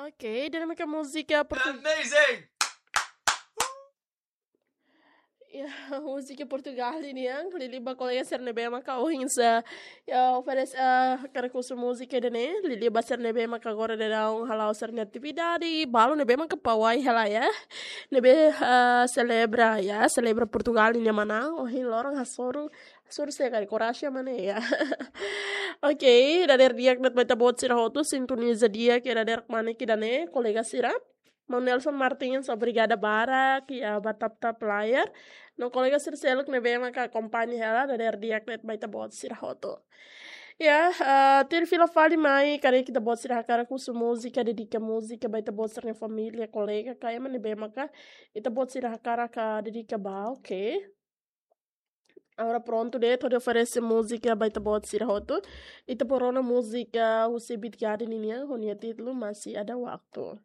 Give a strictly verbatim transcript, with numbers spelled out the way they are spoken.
Ok, ida-ne'e maka múzika Portu- Amazing! Ya, múzika Portugal nian, liuliu ba kolega sira ne'ebé maka ohin sá, ya, oferese, ah, hakarak husu múzika ida-ne'e, liuliu ba sira ne'ebé maka agora daudaun hala'o sira-nia atividade, balu ne'ebé maka pawai hela ya, ne'ebé, ah, selebra ya, selebra Portugal nia manán, ohin loron hasoru, hasoru se kari koraja mane ya. Ok, dadeer di'ak de'it ba ita-boot sira hotu, sintoniza di'ak iha dadeer kmanek ida-ne'e, kolega sira. Maun Nelson Martins, obrigada barak, ya, ba tap-tap layar. No kolega sira seluk ne'ebé maka akompaña hela, dadeer di'ak de'it ba ita-boot sira hotu. Ya, ah, tuir fila fali mai, karik ita-boot sira hakarak husu múzika, dedika múzika ba ita-boot sira-nia família, kolega, ka ema ne'ebé maka ita-boot sira hakarak ka dedika ba, ok. Agora prontu de'it, hodi oferese múzika ba ita-boot sira hotu. Ita bele rona múzika husi Beat Garden nian, ho nia títulu Masih Ada Waktu.